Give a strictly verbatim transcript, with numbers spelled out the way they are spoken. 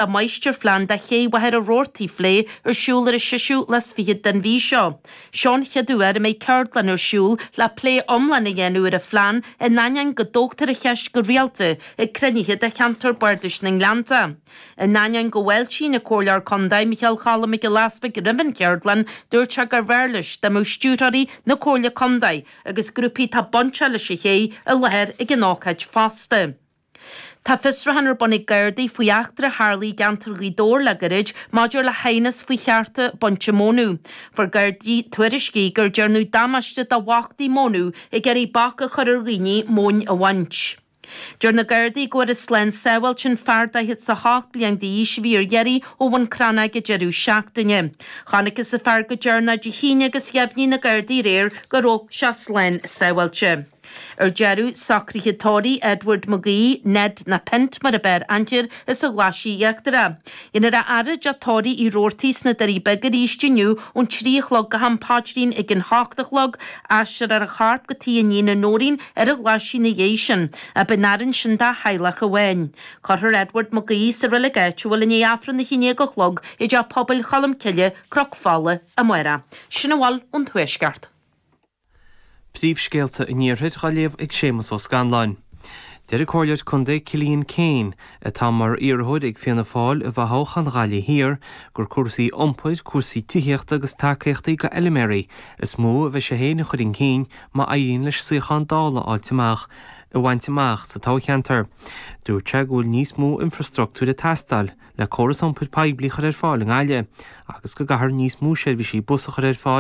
Máistirphlean do Ché Mhachaire Rabhartaigh a phlé ar siúl ar an seisiú lá is fichead den mhí seo. Seo an chéad uair a mbeidh ceardlann ar siúl le plé iomlán a dhéanamh ar an phlean in ainneoin go dtógtar an cheist go rialta ag cruinnithe de cheantar Bardais na nGleannta. In ainneoin go bhfáiltíonn an Comhairleoir Contae Micheál Cholm Mac Giolla Easbuig roimh an cheardlann, dúirt sé gurbh fhearr leis dá mbeadh stiúrthóirí na Comhairle Contae agus grúpaí atá bainteach leis an ché i láthair ag an ócáid fosta. Tá fiosrúchán ar bun ag Gardaí faoi eachtra a tharla i gceantar Ghaoth Dobhair le gairid maidir le haighneas faoi chearta bainte mónadh. Fuair Gardaí tuairiscí gur déanadh damáiste do bhachtaí mónadh ag iarraidh bac a chur ar dhaoine móin a bhaint. Deir na Gardaí go bhfuarthas slán sábháilte an fear daichead is a hocht bliain d'aois a bhí ar iarraidh ó Bhun Cranncha ag an deireadh seachtaine. Chonacthas an fear go deireanach Dé hAoine agus dheimhnigh na Gardaí aréir go raibh sé slán sábháilte. Ar deireadh, socruithe tórraimh Edward McGee, Ned na Pint mar ab fhearr aithne air, as an Ghlaisigh Íochtarach. Déanfar a fhaire i dteach tórraimh Uí Robhartaigh sna Doirí Beaga arís inniu ón trí a chlog go ham paidrín ag an hocht a chlog. Aistreofar a chorp go tigh a iníne Nóirín ar an Ghlaisigh ina dhiaidh sin. Beidh an fhaire ansin dá theaghlach amháin. Cuirfear Edward McGee sa reilig áitiúil i ndiaidh Aifreann a haon déag a chlog i dTeach Pobail Cholm Cille, Cnoc Fola, amárach. Sin a bhfuil ón Tuaisceart. Príomhscéalta an Iarthair á léamh ag Séamus Ó Scanláin. Deir an Comhairleoir Contae Cillian Keane, atá mar iarrthóir ag Fianna Fáil i bhfothoghchán Ghaillimh Thiar, gur cúrsaí iompair, cúrsaí tithíochta agus tacaíochtaí do fheilméaraí is mó a bheidh sé féin a chur chun cinn má éiríonn leis suíochán Dála a fháilt amach a bhaint amach sa toghcheantar. Dúirt sé go bhfuil níos mó infreastruchtúir ag teastáil le córas iompair poiblí a chur ar fáil i nGaillimh agus go gcaithfear níos mó seirbhísí bus a chur ar fáil